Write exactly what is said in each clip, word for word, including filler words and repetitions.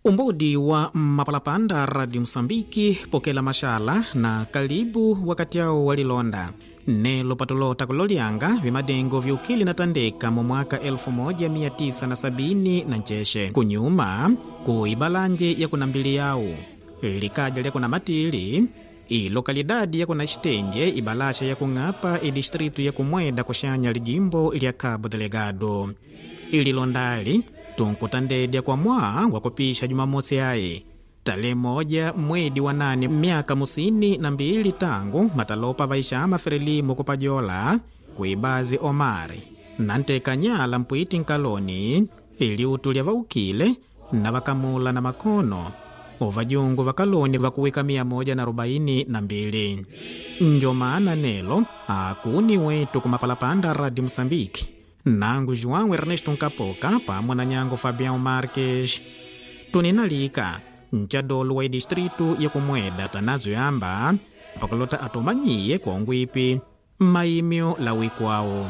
Umbodi wa Mapalapanda Radio Msambiki pokela mashala na kalibu wakati awo walilonda nelo patulota kulolyanga vimadengo viukili na tandeka mu mwaka elfu moja mia tisa na sabini na ncheshe kunyuma ku ibalanje ya kunambili yawu likaja lya kuna matili ilokalidadi ya kuna xitenje ibalasha ya kung'apa idistritu ya kumweda kuxanya lijimbo lya Cabo Delgado. Ililondali tunkutandedya kwa mwaa wa kupisha Jumamosi ayi tale moja mwedi wa nane, myaka musini na mbili tangu matalopa vaixama Frelimo kupajola kuibazi Omari na ntekanyala mpwiti nkaloni iliutu lya vaukile na vakamula na makono ovajungu vakaloni vakuwika mia moja na arobaini na mbili. Njo maana nelo akuni wetu kumapalapanda Radio Msambiki, nangu João Ernesto Nkapoka pamwe na nyango Fabião Marques tuninalika nchadolo wa idistritu ya kumweda tanazo yamba pakulota atumanyiye kwa ungwipi maimyo la wikwawo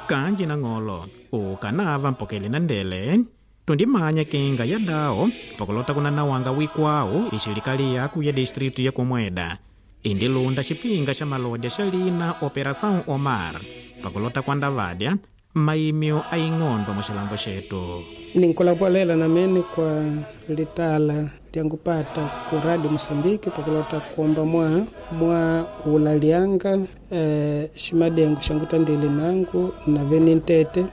kanji na ng'olo ukanava mpokele na ndele tundimanya kinga ya dao pakulota kunanawanga wikwawo ixilikali yaku ya distritu ya kumweda indilunda xipinga xa malodya xa lina Operação Omar pakulota kwandavadya maimyo aing'ondo muxilambo xetu. Ninkulapolela namene kwa litala lyangupata ku Radio Moçambique pakulota kuomba mwa mwa ulalyanga eh, ximadengo xangutandile nangu na vene ntete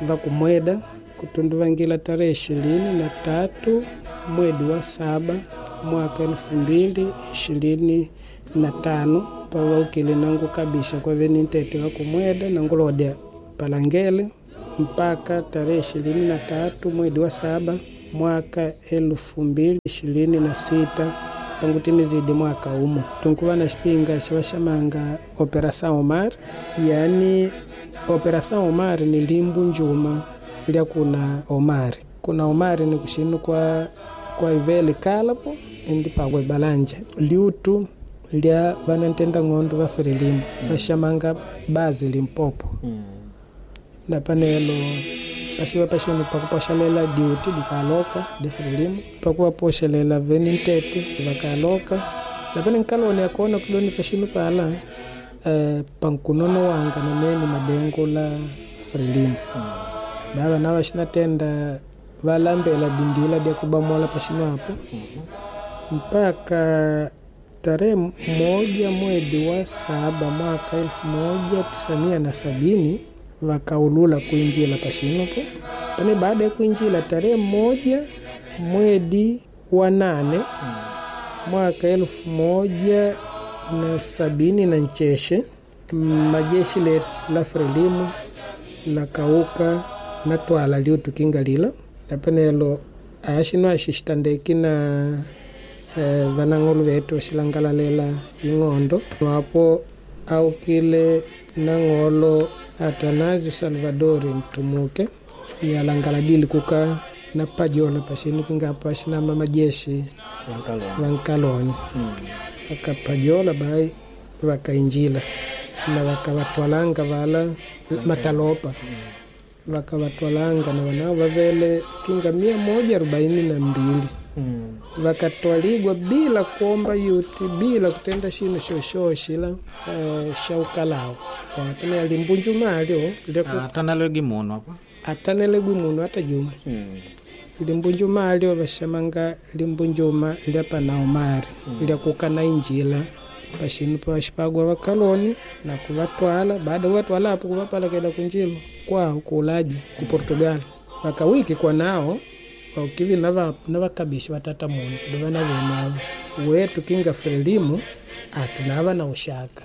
vakumweda kutunduvangila tarehe ishirini na tatu mwedi wa saba mwaka elfu mbili ishirini na tano pavaukile nangu kabisa kwa vene ntete vakumweda nangulodya palangele mpaka tarehe ishirini na tatu mwedi wa saba mwaka elfu mbili ishirini na sita pangutimizidi mwaka umo tunkuva na xipinga xavaxamanga Operação Omar, yani Operação Omar ni limbu njuma lya kuna Omar. Kuna Omar ni kuxinu kwa kwa ivele kalapo indi pakwa ibalanja liutu lya vanantenda ng'ondo va Frelimo vaxamanga bazi Limpopo mm. Na panelo paxiva paxinu pakupoxelela diuti dikaloka de Frelimo pakuvapoxelela veni ntete vakaloka na pane nkaloni akona kudoni paxinu pala eh, pankunono wanga namene madengo la Frelimo mm. Bava na vaxinatenda valambela dindila dia kubamola paxinu apo mm -hmm. Mpaka tarehe moja mwedi wa saba mwaka elfu moja tisa mia na sabini vakaulula kuinjila paxinopo pane. Baada ya kuinjila tarehe moja mwedi wa nane mm. mwaka elfu moja na sabini na ncheshe majeshi le la Frelimo lakauka na twala liutukinga lila lapanelo axino axixitandeki na eh, vanang'olo vetu vaxilangalalela ing'ondo wapo aukile nang'olo Atanasio Salvador Ntumuke yalangaladili kuka na pajola paxinu kinga paxinama majeshi vankaloni mm. Vakapajola bai vakainjila na vakavatwalanga vala matalopa mm. Vakavatwalanga na wanao vavele kinga mia moja arobaini na mbili mm. Vakatwaligwa bila kuomba yuti bila kutenda shinu shoshoshila eh, shaukalao apane limbunjumalyo atanalegi munu apa atanelegi munu hata juma mm. Limbunjumalyo vashamanga limbunjuma lya pana Omari mm. Lya kukana injila paxinu paxipagwa vakaloni na kuvatwala. Baada kuvatwala apo kuvapalakela kunjilo kwao kuulaji ku Portugal vakawiki kwa nao vaukivi na vakabishi vatata munu kudovana venavo wetu kinga Frelimu atunava na ushaka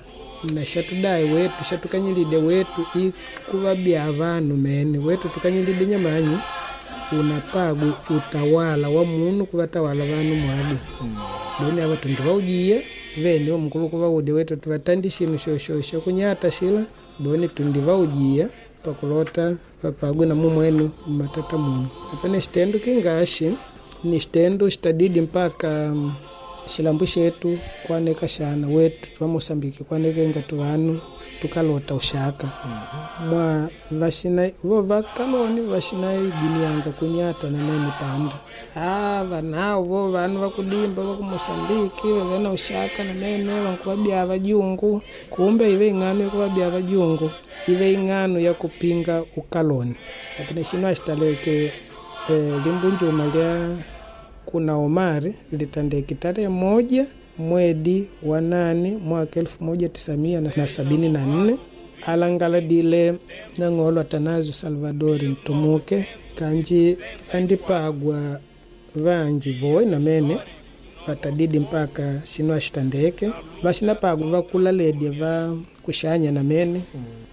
na xatudai wetu xatukanyilide wetu ikuvabya vanu mene wetu tukanyilide nyamanyi unapagwi utawala wa munu kuvatawala vanu mwadu mm. Doni ava tundu vaujiya vene omukulu kuvaude wetu tuvatandi xinu xoxoxo kunyata xila doni tundi vaujiya pakulota vapagwe na mumwenu matata munu apane xitendo kingaxi ni xitendo xitadidi mpaka Xilambu xetu kuaneka xana wetu twa Moçambique kuanekenga tuvanu tukalota uxaka mwa vaxina vo vakaloni vaxinaiginianga kunyata na mene panda ah vanao vo vanu vakudimba va ku Moçambique vavena uxaka na mene vankuvabia vajungu kumbe ive ing'ano yakuvabia vajungu ive ing'ano ya kupinga ukaloni lakini xino axitaleke eh, limbunjuma lya kuna Omari litandeki tarehe moja mwedi wa nane mwaka elfu moja tisa mia na sabini na nne alangaladile nang'olo Atanasio Salvadori Ntumuke kanji andipagwa vanji voi na mene vatadidi mpaka xino axitandeke vaxinapagwa vakulaledya va kuxanya na mene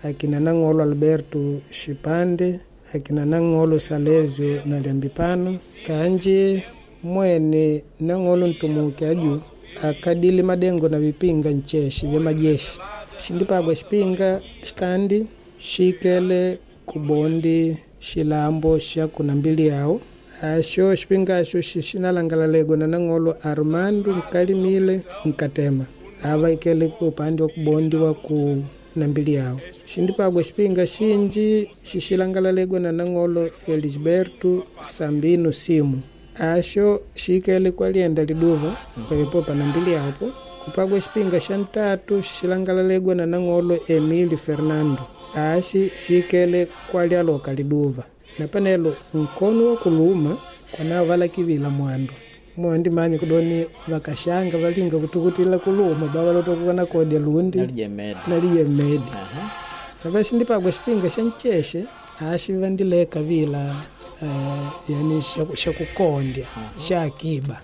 akina nang'olo Alberto Xipande akina nang'olo Salesio na Liambipano kanji mwene nang'olo Ntumuke aju akadili madengo na vipinga ncheshi vya majeshi xindipagwa xipinga xitandi xikele kubondi xilambo xa kuna mbili yawo axo xipinga axo xixinalangalalego na nang'olo Armando Nkalimile Nkatema ava ikele upande wa kubondi wa ku na mbili yawo xindipagwa xipinga xinji xixilangalalego na nang'olo Felisberto Sambino Simu axo xikele kwalienda liduva pelepopa na mbili yapo kupagwa xipinga xa ntatu xilangalalегwa na nang'olo Emílio Fernando axi xikele kwalialoka liduva na panelo nkono wa kuluma kwanao valakivila mwandu mondi manya kudoni vakaxanga valinga kutukutila kuluma bavalotokukana kodya lundi nalijemedi navaxindipagwa xipinga xa ncexe axi vandileka vila Uh, yani xakukondya xa akiba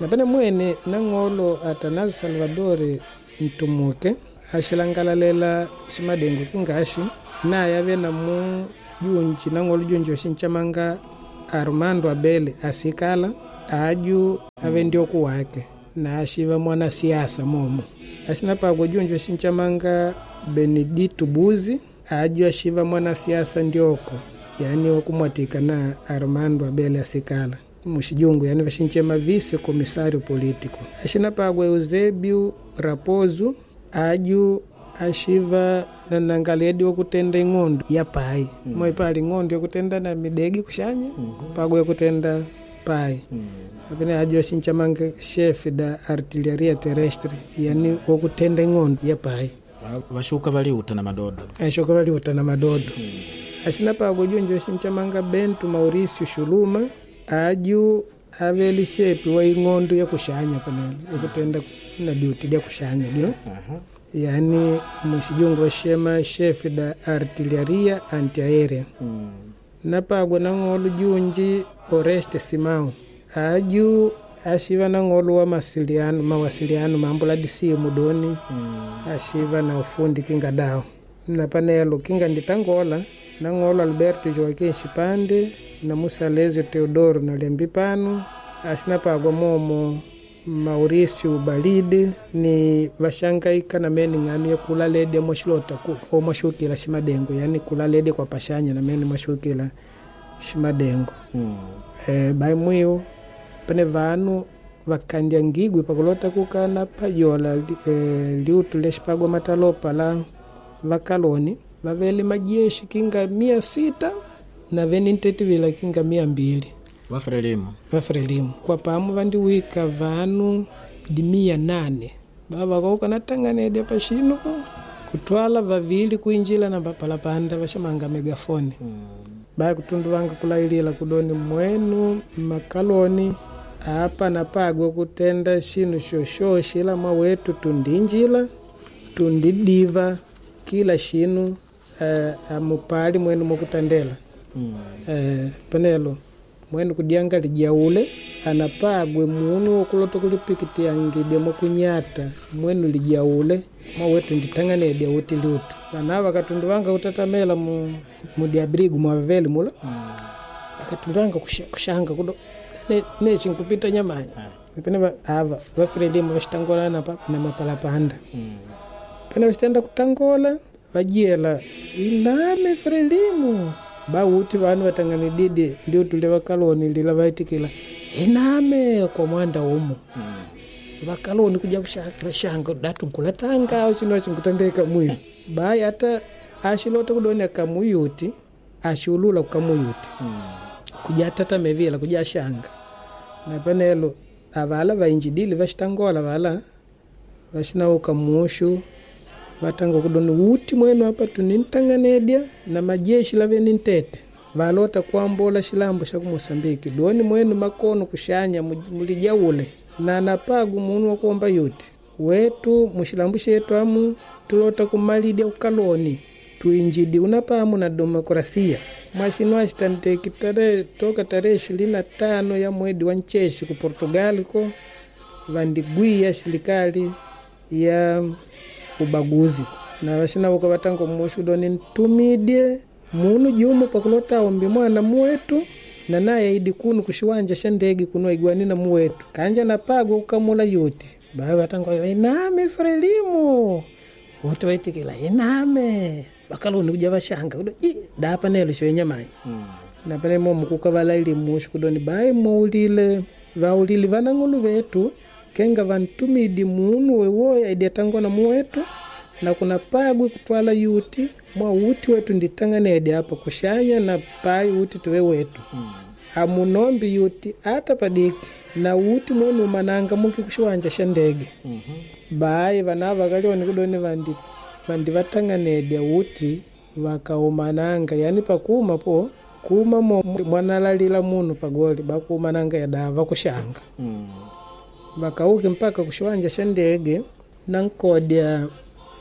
napene mwene nang'olo Atanasio Salvadori Ntumuke axilangalalela ximadengo kingaxi naye ave na mu junji nang'olo junji oxincamanga Armando Abele asikala aju ave ndioku wake na axiva mwanasiasa momo axinapagwa junji oxincamanga Benedito Buzi aju axiva mwanasiasa ndioko yani wakumwatika na Armando Abele asikala muxijungu yani vaxinchema vice comissário político axinapagwa Eusébio Raposo aju axiva na nangaledi wakutenda ing'ondo ya pai mm. moipali ing'ondo yakutenda na midegi kuxanya mm. kupagwa yakutenda pai mm. apene aju axinchamanga chefe da artilharia terrestre yani wakutenda ing'ondo ya pai vaxuka valiuta na madodo axuka valiuta na madodo mm. axinapagwa junji oxinchamanga Bento Maurício Xuluma aju aveli xepi wa ing'ondo ya kuxanya panelo yakutenda na duty lya kuxanya dilo uh-huh. Yani muxijungu waxema chefe da artilharia antiaérea mm. Napagwa nang'olo junji Oreste Simão aju axiva nang'olo wa masiliano mawasiliano mambo la disimu doni mm. Axiva na ufundi kinga dao na panelo kinga nditangola nang'olo Alberto Joaquim Xipande na Musalesio Teodoro na Liambipano axinapagwa momo Maurício Balide ni vaxangaika na mene ng'ano ya kulalede moxilota omoxukila ximadengo yani kulalede kwa paxanya na mene moxukila ximadengo mm. E, bai mwiu pene vanu vakandyangigwi pakulota kukana pajola e, liutu lexipagwa matalopa la vakaloni vavele majeshi kinga mia sita na veni ntetivila kinga mia mbili vafrelimu vafrelimu kwa pamu vandiwika vanu di mia nane bava natang'anedya paxinu po kutwala vavili kuinjila na palapanda vaxamanga megafone mm. Baya kutundu vanga kulailila kudoni mwenu makaloni apa napagwa kutenda xinu xoxoxi ila mwawetu tundinjila tundidiva kila xinu uh, amupali mwenu mokutandela mm. Uh, panelo mwenu kudyanga lijaule anapagwe munu wokulota kulipikitiangidya mwakunyata mwenu lijaule mwawetu nditang'anedya uti liutu vana vakatundu vanga kutatamela mu, mudiabrigu mwaveli mula mm. Vakatundu vanga kushanga kudo nechi nkupita nyamanya pene ava vafrelimu vaxitangola na, na mapalapanda mm. Pene vaxitenda kutangola vajiela iname frelimu bauti vanu vatang'anididi liutu lya vakaloni lila vaitikila iname kwa mwanda umo mm. Vakaloni kuja kushanga datu nkulatanga au chino chinkutandeka mwiyo bayi ata ashilota kudoni akamuyuti ashiulula kukamuyuti mm. Kuja tatamevila kuja shanga na panelo avala vainjidili vashitangola vala vashinauka mushu vatanga kudoni uti mwenu apa tunintanganedya na majeshi laveni ntete valota kuambola shilambo sha ku Mosambiki doni mwenu makono kushanya mulijaule na napagu munu wakuomba yuti wetu mushilambo shetu amu tulota kumalidya ukaloni tuinjidi unapamu na demokrasia mwashinu ashitandeki tarehe toka tarehe ishirini na tano ya mwedi wa ncheshi ku Portugal ko vandigwiya silikali ya ubaguzi na vashinauka vatango mushu doni ntumidye munu jumu pakulota ombi mwana muwetu na naye idi kunu kushiwanja sha ndege kuno aigwani na muwetu kanja napagwa kukamula yuti bawe vatango iname Frelimo wote waitikila iname vakaloni kuja vashanga kudo i dapa nelo shoenyamanyi mm. Napane momu kukavala ili mushu kudoni bayi muulile vaulili vanang'ulu vetu kenga vantumidi munu wewoya idi atangona muwetu na kuna pagwi kutwala yuti mwa uti wetu nditang'anedi apa kushanya na pai uti tuwe wetu mm. Amunombi yuti ata padiki na uti mwenu umananga muki kushiwanja sha ndege mm -hmm. Bayi vana vakalioni kudoni vandi vandi vatang'anedya uti vakaumananga yani pakuma po kuma mo mwanalalila munu pagoli bakuumananga yadava vakushanga mm. Vakauki mpaka kushiwanja sha ndege nankodya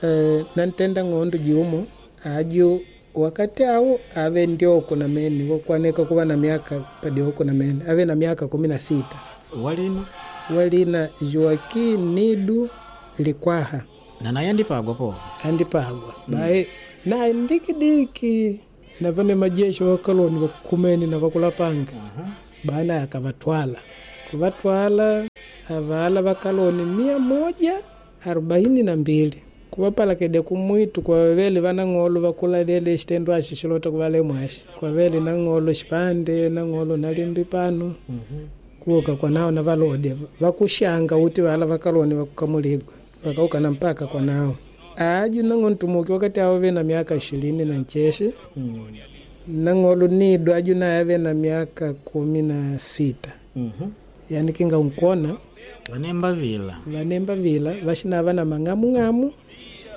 eh, nantenda ng'ondo jumo aju wakati awo ave ndioko na meni wakwaneka kuva na miaka padioko na meni ave na miaka kumi na sita walina walina Joaquim Nidu Likwaha na naye andipagwa po andipagwa mm. Bae naye ndikidiki napane majeshi wakaloni wakumeni na vakulapanga uh -huh. Bae naye akavatwala kuvatwala avala vakaloni mia moja arobaini na mbili kuvapalakede kumwitu kwavele vanang'olo vakulalele xitendo axi xilota kuvalemwaxi kwavele nang'olo xipande nang'olo nalimbi pano mm -hmm. Kuuka kwanao na valodya vakuxanga uti vala vakaloni vakukamuligwa vakaukana mpaka kwanao aju nang'o ntumuki wakati awo ve na miaka ishirini na ncheshe mm. Nang'olo nido aju naye ave na miaka kumi na sita mm -hmm. Yani kinga unkona vanemba vila vanemba vila vaxinava na mang'amung'amu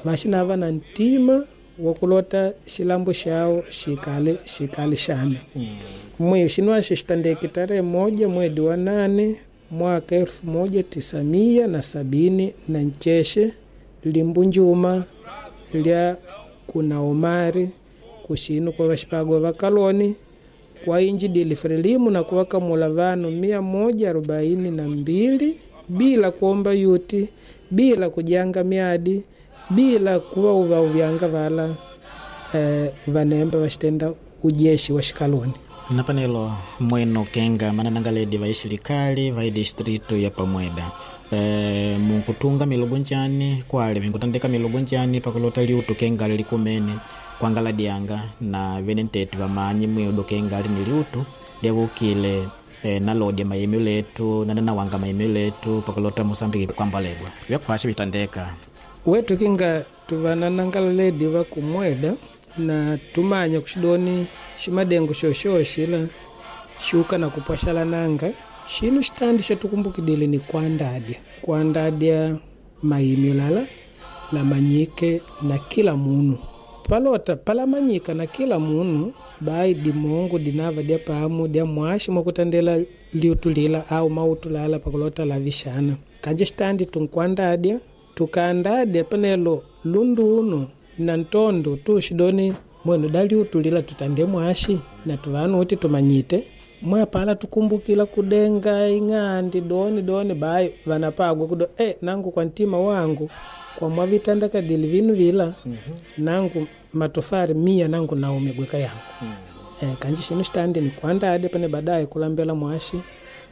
vaxinava na ntima wakulota xilambo xawo xikale xikale xana mm. Mwiyo xinwaxi xitandeki tarehe moja mwedi wa nane mwaka elfu moja tisa mia na sabini na ncheshe limbu njuma lya kuna omari kuxinu kwa vaxipagwa vakaloni kwa injidili Frelimu na kuvakamula vanu mia moja arobaini na mbili bila kuomba yuti bila kujanga miadi bila kuva uvauvyanga vala eh, vanemba vaxitenda ujeshi wa xikaloni napanelo mweno kenga mananangaledi va isilikali va distritu ya pamweda e, munkutunga milugu njani kwale minkutandika milugu njani pakulota liutu kenga likumene kwangala dianga na vene ntete vamanyi mwiudu kenga ni liutu lyavukile e, nalodya maimyu letu nananawanga maimyu letu pakulota Mosambiki kwambalegwa vyakwasha vitandeka wetu kinga tuvananangala ledi vakumweda na tumanya kuxidoni ximadengo xoxoxila xuka na kupwaxala nanga xinu xitandi xatukumbukidile ni kuandadya kuandadya maimyu lala lamanyike na kila munu palota palamanyika na kila munu bayi dimongo dinava dya pamu dya mwaxi mwakutandela liutu lila au mautu lala pakulota lavixana kanje xitandi tunkuandadya tukaandadya panelo lundu na ntondo tuxidoni mwenu daliutulila tutande mwaxi na tuvanu uti tumanyite mwapala tukumbukila kudenga ing'andi doni doni bayi vanapagwa kudo e, nangu kwa ntima wangu kwa mwavitanda kadili vinu vila mm -hmm. Nangu matofari mia nangu naumegweka yangu mm. E, kanji xinu xitandi ni kuandade pane baadaye kulambela mwaxi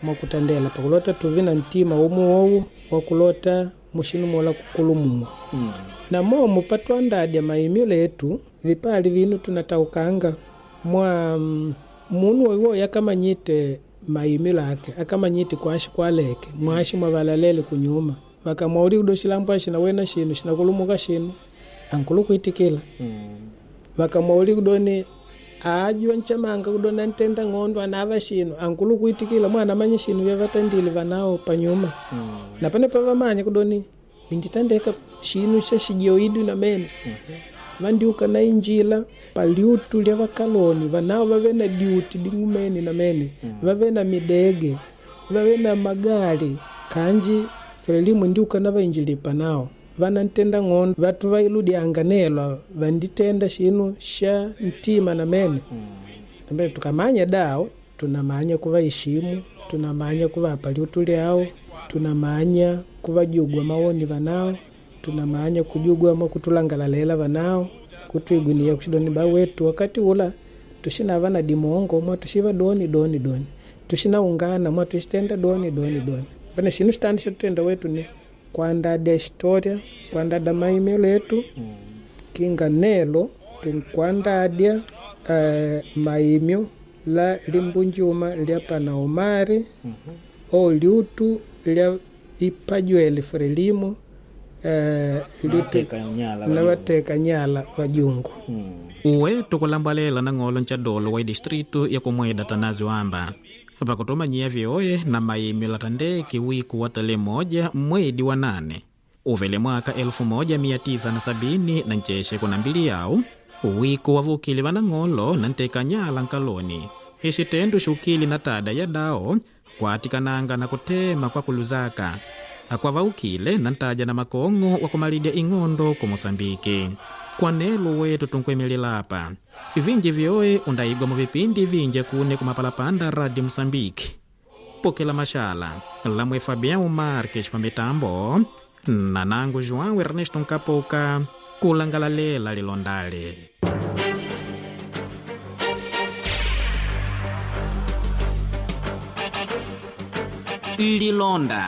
mwakutandela pakulota tuvi na ntima umuwowu wakulota muxinu mola kukulumumwa mm. Na momo patwandadya maimyu letu vipali vinu tunataukanga mwa munu woiwo yakamanyite maimi lake akamanyite kwashi kwaleke mwashi mwavalalele kunyuma vakamwauli kudo shilambo ashina wena shinu shinakulumuka shinu ankulu kuitikila mm. Vakamwauli kudoni aajwa nchamanga kudoni antenda ng'ondo anava shinu ankulu kuitikila mwana manye shinu vyavatandile vanao panyuma mm. Na pane pavamanya kudoni inditandeka shinu sha shijoidu na mene mm -hmm. Vandiuka na injila paliutu lya vakaloni vanao vave na diuti ding'umeni na mene mm. Vave na midege vave na magali kanji Frelimu ndiuka na vainjilipa nao vanantenda ng'ondo vatu vailudyanga nelwa vanditenda shinu sha ntima na mene mm. Tukamanya dao tunamanya kuvaishimu tunamanya kuvapa liutu lyao tunamanya kuvajugwa mawoni vanao tunamanya kujugwa mwa kutulangalalela vanao kutuigunia kushidoni bawetu wakati ula tushinava na dimongo mwa tushiva doni doni doni tushinaungana mwa tushitenda doni doni doni pana shinu shitandi shatutenda wetu ni kwandada historia kwandada maimelo yetu mm. Kinga nelo tunkwandadya uh, maimyo la limbunjuma lya pana Omari mm -hmm. O liutu lya ipajwele Frelimo uh, liutu lateka nyala vajungu mm. Uwe tukulambalela na ng'olo nchadolo wa distritu ya kumweda Tanazi amba pakutumanyia vyoye na maimyo latandeki wiku wa tale moja mwedi wa nane uvele mwaka elfu moja mia tisa na sabini na ncheshe kuna mbili yao wiku wavukile vanang'olo na nteka nyala nkaloni ixitendu xukili na tada ya dao kwatikananga na kutema kwa kuluzaka akwavaukile na ntaja na makong'o wa kumalidya ing'ondo ku Mosambiki kwanelo wetu tunkuemelelapa vinji vyoe undaigwa mu vipindi vinje kune kumapalapanda Radio Mosambiki pokela mashala lamwe Fabian Marques pa mitambo na nangu João Ernesto Nkapoka kulangalalela lilondale. Lilonda.